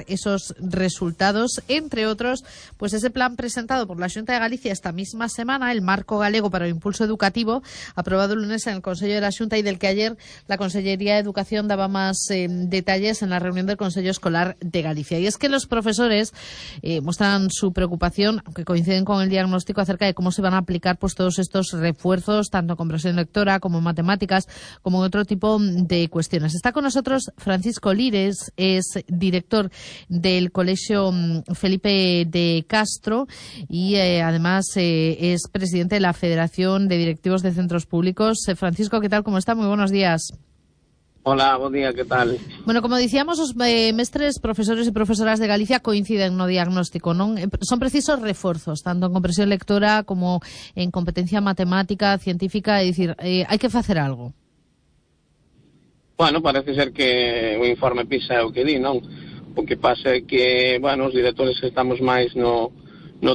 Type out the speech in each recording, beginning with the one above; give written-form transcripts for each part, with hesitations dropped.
esos resultados, entre otros, pues ese plan presentado por la Xunta de Galicia esta misma semana, el Marco Galego para o Impulso Educativo, aprobado el lunes en el Consello de la Xunta y del que ayer la Consellería de Educación daba más detalles en la reunión del Consello Escolar de Galicia. Y es que los profesores muestran su preocupación, aunque coinciden con el diagnóstico, acerca de cómo se van a aplicar pues todos estos refuerzos, tanto en comprensión lectora como en matemáticas, como en otro tipo de cuestiones. Está con nosotros Francisco Lires, es director del Colegio Felipe de Castro y además es presidente de la Federación de Directivos de Centros Públicos. Francisco, ¿qué tal? ¿Cómo está? Muy buenos días. Hola, buen día, ¿qué tal? Bueno, como dicíamos, os mestres, profesores e profesoras de Galicia coinciden no diagnóstico, non? Son precisos reforzos, tanto en comprensión lectora como en competencia matemática, científica, é dicir, hai que facer algo. Bueno, parece ser que o informe PISA é o que di, non? O que pasa é que, bueno, os directores estamos máis no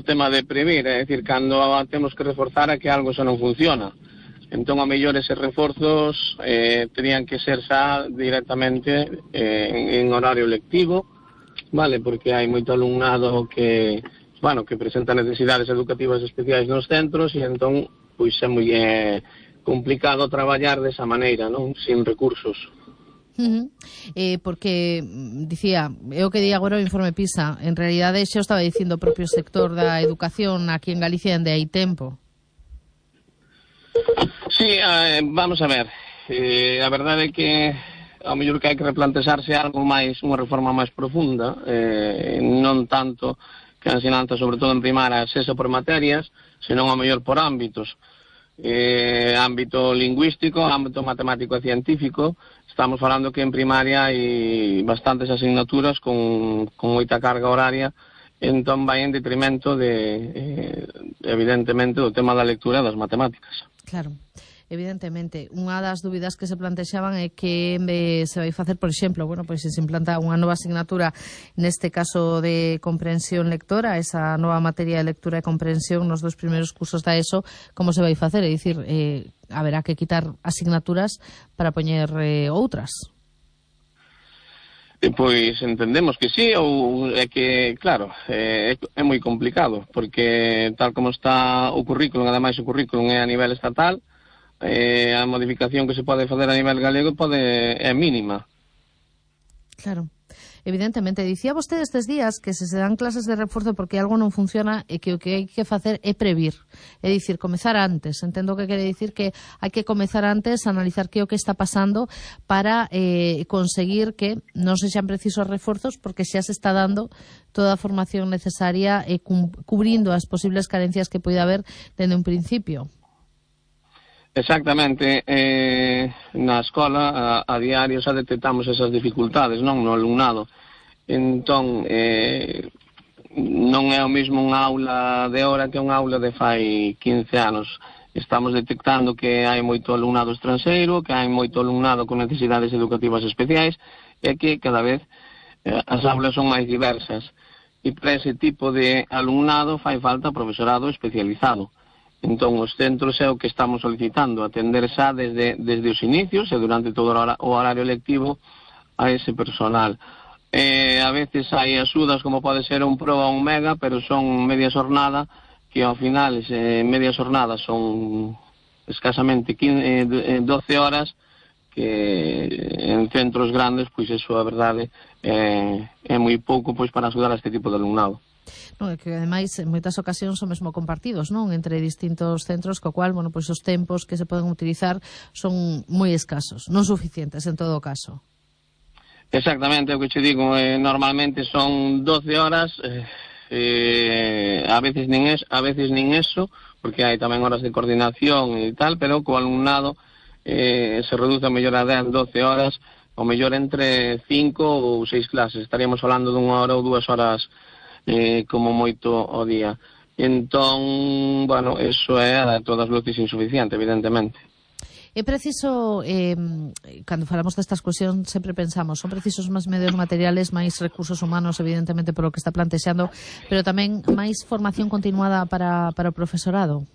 tema de previr, é dicir, cando temos que reforzar é que algo xa non funciona. Entón, a mellor eses reforzos terían que ser xa directamente en horario lectivo, vale? Porque hai moito alumnado que, bueno, que presenta necesidades educativas especiais nos centros e entón, pois é moi complicado traballar desa maneira, non? Sin recursos. Porque, dicía, é o que di agora o informe PISA, en realidade xa o estaba dicindo o propio sector da educación aquí en Galicia dende hai tempo. Sí, vamos a ver, a verdade é que ao mellor que hai que replantexarse algo máis, unha reforma máis profunda, non tanto que a ensinanza, sobre todo en primaria, sexa por materias, senón ao mellor por ámbitos. Ámbito lingüístico, ámbito matemático e científico. Estamos falando que en primaria hai bastantes asignaturas con moita carga horaria, entón vai en detrimento de, evidentemente, do tema da lectura e das matemáticas. Claro, evidentemente. Unha das dúbidas que se plantexaban é que se vai facer, por exemplo, bueno, pois se implanta unha nova asignatura, neste caso de comprensión lectora, esa nova materia de lectura e comprensión nos dos primeiros cursos da ESO, como se vai facer? É dicir, haberá que quitar asignaturas para poñer outras. Pois entendemos que sí, ou é que, claro, é moi complicado, porque tal como está o currículum, ademais o currículum é a nivel estatal, a modificación que se pode facer a nivel galego é mínima. Claro. Evidentemente, dicía vostede estes días que se dan clases de reforzo porque algo non funciona e que o que hai que facer é previr, é dicir, comezar antes. Entendo que quere dicir que hai que comezar antes, analizar que é o que está pasando para conseguir que non sexan precisos reforzos, porque xa se está dando toda a formación necesaria e cubrindo as posibles carencias que poida haber dende un principio. Exactamente, na escola a diario xa detectamos esas dificultades, non, no alumnado. Entón, non é o mesmo unha aula de hora que unha aula de fai 15 anos. Estamos detectando que hai moito alumnado estranxeiro, que hai moito alumnado con necesidades educativas especiais e que cada vez as aulas son máis diversas. E para ese tipo de alumnado fai falta profesorado especializado. Entón, os centros é o que estamos solicitando, atender xa desde os inicios e durante todo o horario lectivo a ese personal. A veces hai axudas como pode ser un Pro ou un Mega, pero son media xornada, que ao final media xornada son escasamente 12 horas, que en centros grandes, pois eso, a verdade, é moi pouco pois para axudar a este tipo de alumnado. Non, é que ademais en moitas ocasións son mesmo compartidos, non, entre distintos centros, co cual, bueno, pois os tempos que se poden utilizar son moi escasos, non suficientes en todo caso. Exactamente, o que che digo, normalmente son 12 horas, a veces nin eso, porque hai tamén horas de coordinación e tal, pero co alumnado se reduce a mellor a 10, 12 horas, ou mellor entre 5 ou 6 clases. Estaríamos falando dunha hora ou 2 horas como moito o día. Entón, bueno, eso é a todas luces insuficiente, evidentemente. É preciso, cando falamos destas cuestións, sempre pensamos, son precisos máis medios materiales, máis recursos humanos, evidentemente, polo que está plantexando, pero tamén máis formación continuada para o profesorado.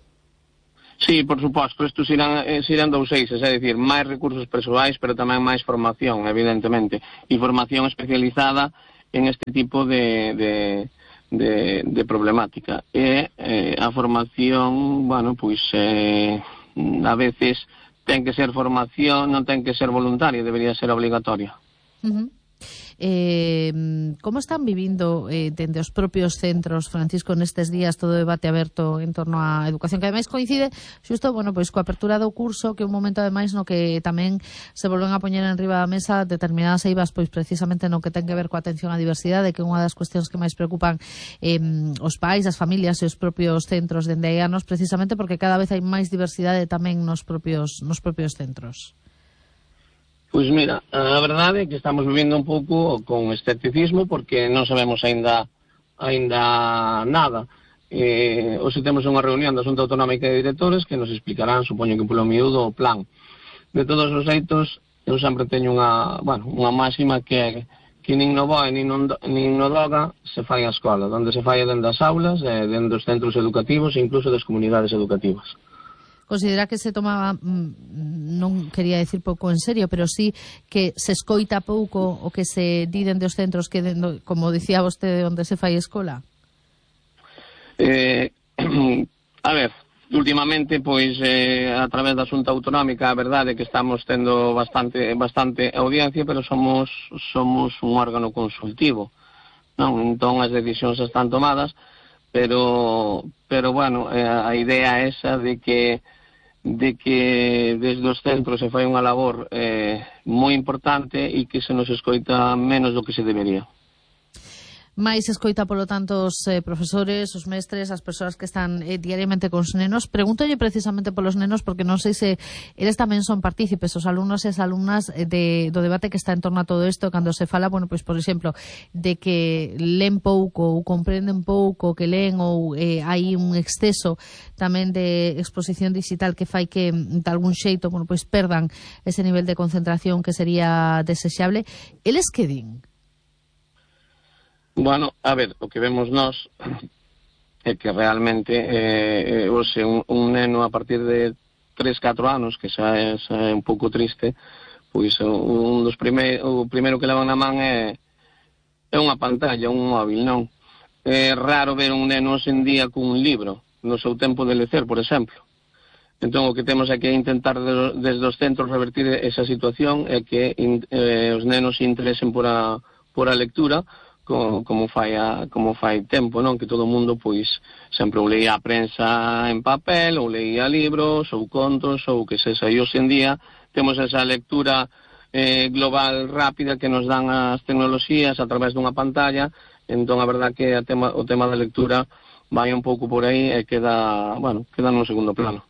Sí, por suposto, estos irán dous eixes, é dicir, máis recursos persoais, pero tamén máis formación, evidentemente, e formación especializada en este tipo de problemática. E a formación, bueno, pois a veces ten que ser formación, non ten que ser voluntaria, debería ser obligatoria. Como están vivindo dende os propios centros, Francisco, nestes días todo o debate aberto en torno á educación, que ademais coincide xusto, bueno, pois coa apertura do curso, que é un momento ademais no que tamén se volven a poñer en riba da mesa determinadas eivas, pois precisamente no que ten que ver coa atención á diversidade, que é unha das cuestións que máis preocupan os pais, as familias e os propios centros dende hai anos, precisamente porque cada vez hai máis diversidade tamén nos propios centros. Pois mira, a verdade é que estamos vivindo un pouco con escepticismo porque non sabemos aínda nada. Hoxe temos unha reunión da Xunta Autonómica de Directores que nos explicarán, supoño que polo miúdo, o plan. De todos os xeitos, eu sempre teño unha máxima que é que nin no BOE nin no DOGA se fai a escola, onde se fai dentro das aulas, dentro dos centros educativos e incluso das comunidades educativas. Considera que se toma, non quería decir pouco en serio, pero sí que se escoita pouco o que se di dende os centros que, como dicía vostede, onde se fai escola? A ver, últimamente, pois, a través da Xunta Autonómica, a verdade é que estamos tendo bastante audiencia, pero somos un órgano consultivo, non? Entón as decisións están tomadas, pero bueno, a idea esa de que desde os centros se fai unha labor moi importante e que se nos escoita menos do que se debería. máis escoita, polo tanto, os profesores, os mestres, as persoas que están diariamente cos nenos. Pregúntolle precisamente polos nenos, porque non sei se eles tamén son partícipes, os alumnos e as alumnas do debate que está en torno a todo isto, cando se fala, bueno, pois, por exemplo, de que leen pouco ou comprenden pouco que leen, ou hai un exceso tamén de exposición digital que fai que, de algún xeito, bueno, pois perdan ese nivel de concentración que sería desexable. Eles que din? Bueno, a ver, o que vemos nós é que realmente un neno a partir de 3-4 anos, que xa é un pouco triste, pois o primeiro que levan na man é unha pantalla, un móvil, non? É raro ver un neno hoxe en día cun libro, no seu tempo de lecer, por exemplo. Entón, o que temos é que intentar desde os centros revertir esa situación e que os nenos se interesen por a lectura, como fai tempo, non? Que todo o mundo, pois, sempre ou leía a prensa en papel, ou leía libros, ou contos, ou que sexa. E hoxe en día temos esa lectura global rápida que nos dan as tecnoloxías a través dunha pantalla. Entón, a verdad que o tema da lectura vai un pouco por aí e queda nun segundo plano.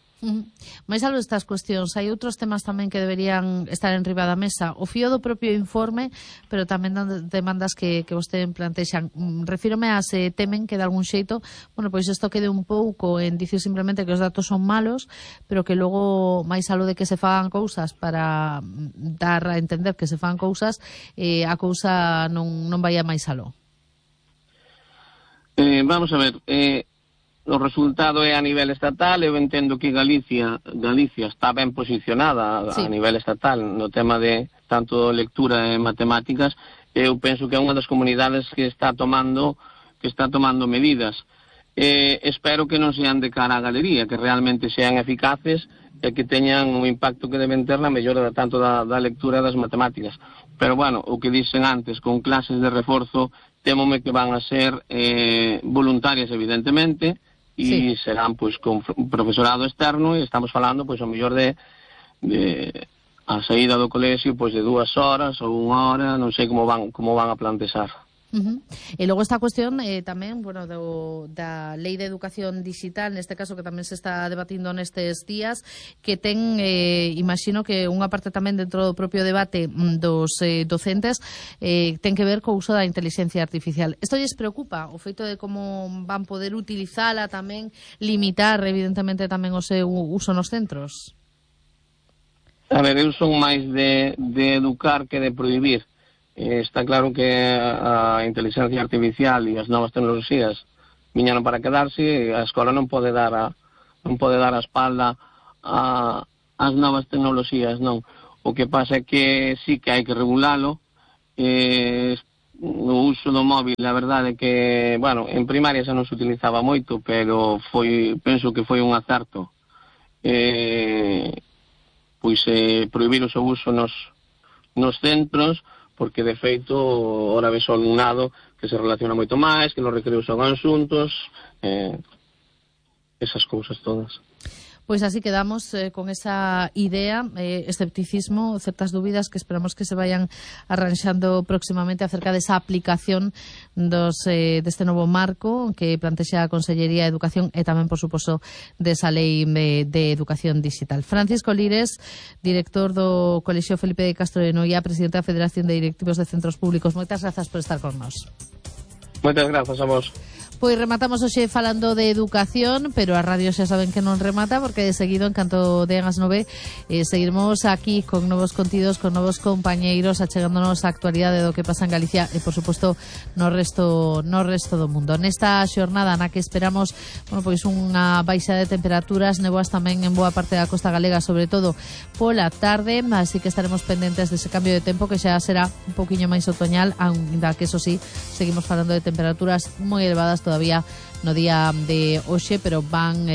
Mais algo destas cuestións, hai outros temas tamén que deberían estar en riba da mesa, o fío do propio informe, pero tamén demandas que vostede plantexan. Refírome a se temen que de algún xeito, bueno, pois isto quede un pouco en dicir simplemente que os datos son malos, pero que logo, máis algo de que se fagan cousas para dar a entender que se fagan cousas, a cousa non vai a máis aló. Vamos a ver, o resultado é a nivel estatal. Eu entendo que Galicia está ben posicionada a nivel estatal no tema de tanto lectura e matemáticas. Eu penso que é unha das comunidades que está tomando medidas. Espero que non sean de cara á galería, que realmente sean eficaces e que teñan un impacto que deben ter na mellora tanto da lectura e das matemáticas. Pero, bueno, o que dicen antes, con clases de reforzo, témome que van a ser voluntarias, evidentemente, e serán pois con profesorado externo, e estamos falando pois ao mellor de a saída do colexio pois de 2 horas ou 1 hora, non sei como van a plantexar. E logo esta cuestión tamén, bueno, da Lei de Educación Digital, neste caso que tamén se está debatindo nestes días, que ten, imagino que unha parte tamén dentro do propio debate dos docentes ten que ver co uso da inteligencia artificial. Isto lles preocupa, o feito de como van poder utilizala tamén, limitar evidentemente tamén o seu uso nos centros? A ver, eu son máis de educar que de prohibir. Está claro que a inteligencia artificial e as novas tecnoloxías viñeron para quedarse, e a escola non pode dar a espalda ás novas tecnoloxías, non. O que pasa é que sí que hai que regulalo, o uso do móvil, a verdade é que, bueno, en primaria xa non se utilizaba moito, pero penso que foi un acerto prohibir o seu uso nos centros, porque de feito ora ves o alumnado que se relaciona moito máis, que nos recreos xogan xuntos, esas cousas todas. Pois así quedamos con esa idea, escepticismo, certas dúbidas que esperamos que se vayan arranxando próximamente acerca desa aplicación deste novo marco que plantexa a Consellería de Educación e tamén, por suposto, desa lei de educación digital. Francisco Lires, director do Colexio Felipe de Castro de Noia, presidente da Federación de Directivos de Centros Públicos. Moitas grazas por estar con nós. Moitas grazas a vos. Pois rematamos hoxe falando de educación, pero a radio xa saben que non remata, porque de seguido, en canto dean as 9, seguiremos aquí con novos contidos, con novos compañeiros, achegándonos a actualidade do que pasa en Galicia e, por suposto, no resto do mundo. Nesta xornada na que esperamos, pois unha baixa de temperaturas, nevoas tamén en boa parte da costa galega, sobre todo pola tarde, así que estaremos pendentes dese cambio de tempo que xa será un poquinho máis otoñal, ainda que, eso sí, seguimos falando de temperaturas moi elevadas todavía no día de hoxe, pero van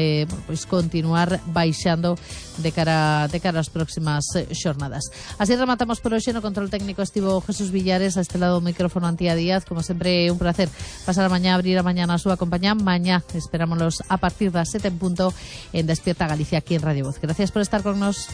pois continuar baixando de cara ás próximas xornadas. Así rematamos por hoxe. No control técnico estivo Jesús Villares, a este lado do micrófono Antía Díaz. Como sempre, un placer pasar a mañá, abrir a mañá na súa compañía. Mañá esperámonos a partir das 7 en punto en Despierta Galicia, aquí en Radio Voz. Gracias por estar con nos.